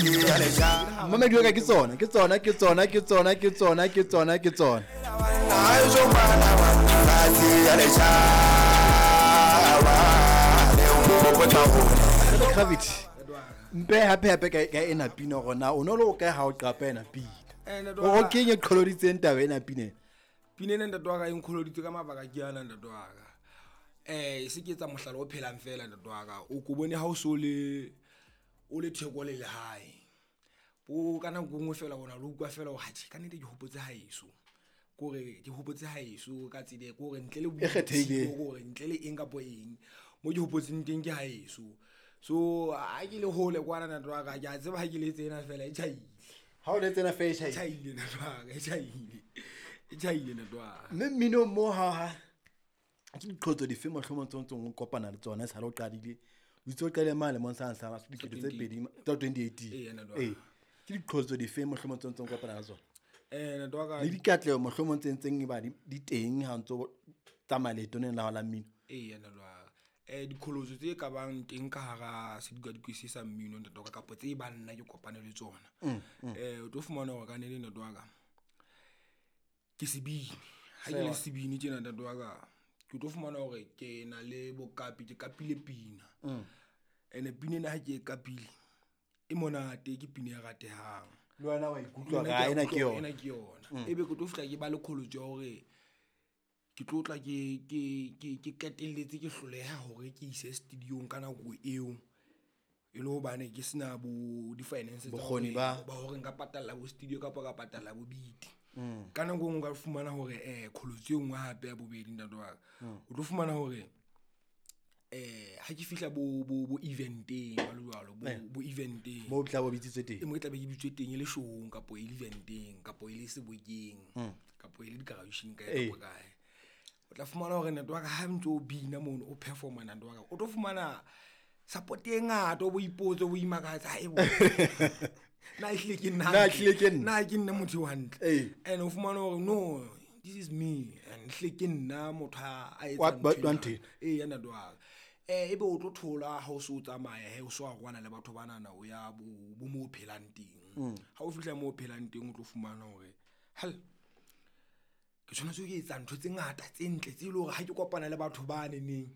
Mamedi wa ka, ke tsona, ke tsona, ke tsona, ke tsona, ke tsona, ke tsona, ke tsona. Gravity mpe hape hape ka ena pina hore na o no le o kae ha o qapa ena pina? O kenye qholoditseng taba ena pina. Pina ena, ntate wa ka, e nkgoloditse ka mabaka ke ana, ntate wa ka. Se ke etsa mohlala o phelang fela, ntate wa ka. O ko bone ha o so le o le theko le lehae bo ka nako e nngwe fela, o na le utlwa fela hore atjhe, ka nnete ke hopotse haeso, kore ke hopotse haeso ka tsela e kore ntle le E kgethehileng. Kore ntle le eng kapo eng, mo ke hopotseng teng ke haeso. So ha ke le hole kwana, ntate wa ka, ke a tseba ha ke le tsena fela e tjhaile. Ha o le tsena fela e e tjhaile. Tjhaile, ntate wa ka, e tjhaile, e tjhaile, ntate wa ka. Mme mminong mo ha ke diqholotso dife mohlomong tse o ntsong o kopana le tsona e sale o qadile? O itse o qadile mane lemong sa 2000 tsa 2018. Ee, ntate wa ka. Ee, ke diqholotso dife mohlomong tse o ntsong o kopana le tsona? Ntate wa ka. Le dikatleho mohlomong tse ntseng e ba di teng ha o ntso tsamaya leetong la hao la mmino? Ee, ntate wa ka. Diqholotso tse ka bang teng ka hara sedikadikwe se sa mmino, ntate wa ka, kapa tse bang nna ke kopane le tsona, o tlo fumana hore kannete, ntate wa ka, ke sebini. Ha ke le sebini tjena, ntate wa ka, ke tlo fumana hore ke na le boqapi, ke kapile pina. Ene pina ena ha ke e kapile e monate, ke pina e ratehang. Le wena wa ikutlwa Nna ka ke a ena ke utlwa hore yona. Ena ke yona. Ebe ke tlo fihla ke ba le qholotso ya hore ke tlo tla ke qetelletse ke hloleha hore ke ise studio-ng ka nako eo, e le hobane ke sena bo di-finance tsa Bokgoni ba hore nka patalla bo studio kapa ka patalla bo beat. Ka nako e nngwe o ka fumana hore qholotso e nngwe hape ya bobedi, ntate wa ka, o tlo fumana hore ha ke fihla bo event-eng jwalo jwalo, bo event-eng Moo o tla bo bitsitswe teng. E mo ke tlabe ke bitswe teng, e le show-ong kapo e le event-eng kapo e le sebokeng kapo e le di-graduation kae kapo kae, o tla fumana hore, ntate wa ka, ha ntso o bina mono, o performa, ntate wa ka, o tlo fumana support e ngata, o bo ipotse, o bo imakatsa, "Haebo, na ehlile ke nna Na hantle? ehlile ke nna?" Na ke nna motho eo hantle? And o fumana hore no, this is me and ehlile ke nna motho a etsang Wa nthwena. wa nthwena. Ee, ya ntate wa ka. Ebe o tlo thola ha o so o tsamaya he, o so arohana le batho banana, o ya bo mo o phelang teng. Ha o fihla moo o phelang teng, o tlo fumana hore hell, ke tshwanetse ho etsa ntho tse ngata tse ntle tse leng hore ha ke kopana le batho ba neneng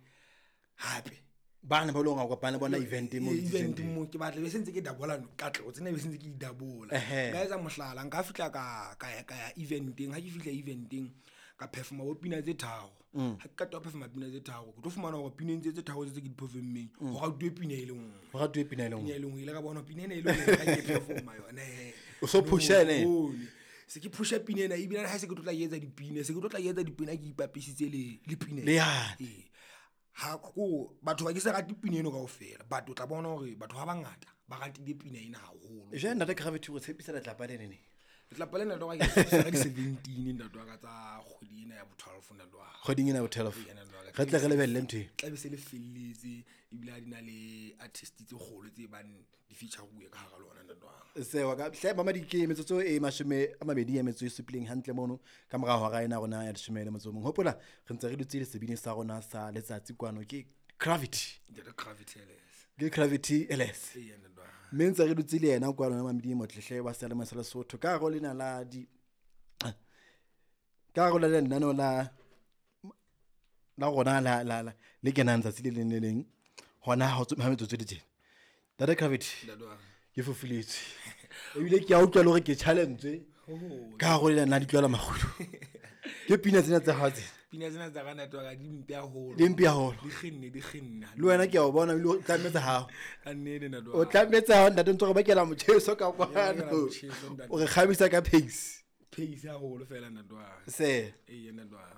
hape. Bana ba leng hore o kopana le bona event-eng moo Ee, bitsitsweng event teng. mo ke batla be se ntse ke dabola katleho tsena, be se ntse ke di dabola. Nka etsa mohlala, nka fihla ka ya event-eng. Ha ke fihla event-eng, ka performa bo pina tse tharo. Ha ke qeta ho performa pina tse tharo, ke tlo fumana hore pineng tse tharo tse ke di perform-meng, ho ratuwe pina e le nngwe. Ho ratuwe pina e le Pina nngwe. e le nngwe ile ka bona pina ena e le nngwe ha ke performa yona he. O so pusha ene? Bone. Se ke pusha pina ena, ebile ha se ke tlo tla ke etsa dipina, se ke tlo tla ke etsa dipina ke ipapisitse le pina Le ena. yane. Ee. Ha ko batho ba ke se rate pina eno kaofela, but o tla bona hore batho ba bangata ba ratile pina ena haholo. Jwale, ntate Gravity, o tshepisa letlapa le neneng? Letlapa lena, ntate wa ka, ke tshepisa ka di-17, ntate wa ka, tsa kgwedi ena ya bo 12, ntate wa ka. Kgweding ena ya bo 12. Ee, ntate wa ka. Re tle re lebelle ntho eno. Tla be se le felletse, ebile ha di na le artist tse kgolo tse bang di feature-uwe ka hara lona, ntate wa ka. Sewa ka hle mamadi, ke metsotso e 27 hantle mono ka mora hora ena rona ya 11. Hopola re ntse re dutse le sebini sa rona sa letsatsi kwano, ke Gravity. Ntate Gravity LS. Ke Gravity LS. Ee, ntate wa ka. Mme ntse re dutse le yena kwano mamedi motlehle wa seyalemoya sa Lesotho ka hare ho lena la di ka hare ho la lenaneo la rona la le kenang tsatsi le leng le leng hona ha metsotso e le tjena. Ntate Gravity, Ntate wa ka. ke fofuletswe ebile ke a utlwa le hore ke challenge ka hare ho lena la ditlwela makgulo. Ke pina tsena tsa hao tsena. Pina tsena tsa ka, ntate wa ka, di mpe haholo. Di mpe haholo. Di kgenne, di kgenne. Le wena ke a o bona ebile o tlametse hao. Ka nnete, ntate wa O ka. tlametse hao, ntate, ntse re bakela motjheso ka bakela kwano. motjheso, ntate. O re kgabisa ka pace. Pace haholo fela, ntate wa ka. Se. Ee, ntate wa ka.